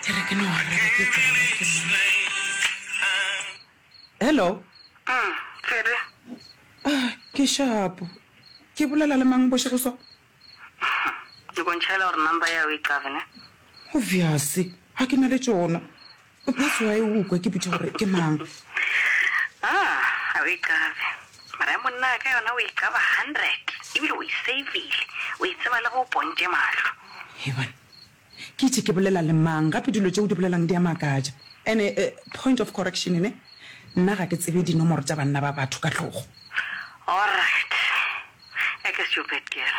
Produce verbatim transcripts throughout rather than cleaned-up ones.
E re ke no araba ke tsebe gore ke mang. Hello. Mm, Fede. Ah, ke shapo. Ke bolela le mang bošego so? Ke kontšhela gore number ya o e qave ne? Obvious, ga ke na le tšona. That's why o kwe ke botša gore ke mang. Ah, ga o e qave. Mara ya monna ka yona o e qava hundred. Ebile o e savile. O e tseba le ge o pontše mahlo. Heban, ke itše ke bolela le mang gape dilo tše o di bolelang di a makatša. Ene eh, point of correction ne, nna ga ke tsebe dinomoro tša banna ba batho ka hlogo. Alright. Ek is your bad girl.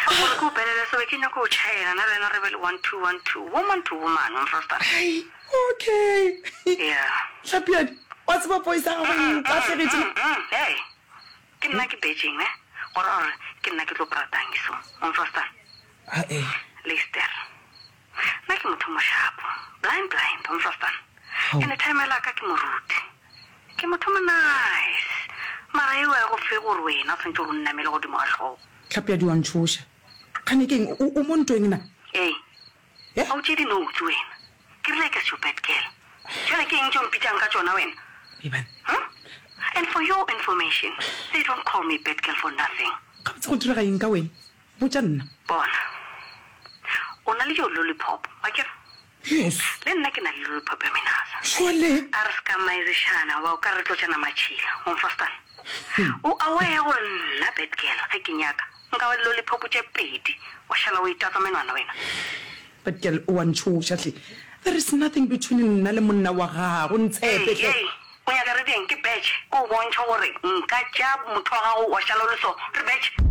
Gore ke o belele so be ke nyaka go tšhaela nna le wena re be le one two one two woman to woman wa mfrostan. Ai, okay. Yeah. Hlapiadi, wa tseba voice ya gago e ntahlegetše. Mm, mm, hey. Ke nna ke betšeng ne? Go ra gore ke nna ke tlo pratang so. Wa mfrostan. Ah, eh. Leister. Nna ke motho moshapo. Blind blind, wa mfrostan. Hao. Ene time la ka ke moruti. Ke motho mo nice. Mara eo a go fe gore wena o tshwanetse gore o nnamele godimo ga hlogo. Hlapiadi wa ntšhoša. Kgane ke eng? O, o mo ntweng na? Ee. Eh? Ga o tšee di-notes wena. Ke rile ke your bad girl. Jwale ke eng tše o mpitšang ka tšona wena? Eban. Huh? And for your information, they don't call me bad girl for nothing. Gabotse go direga eng ka wena? Botša nna. Bona. O na le yo lollipop, wa kere? Yes. Le nna ke na le lollipop ya menasa. Jwale. A re se ka maezešana wa o ka re tlotšana matšhila. O mfrostan. O aware gore nna bad girl ge ke nyaka nka ba di-lollipop tše pedi wa šala o itatsa menwana wena. Bad girl, o a ntšhoša hle. There is nothing between nna le monna wa gago. Ntshepe Hey, hle. hey, o nyaka re dieng ke betšhe ke o bontšhe gore nka tša motho wa gago wa šala o le so re betšhe.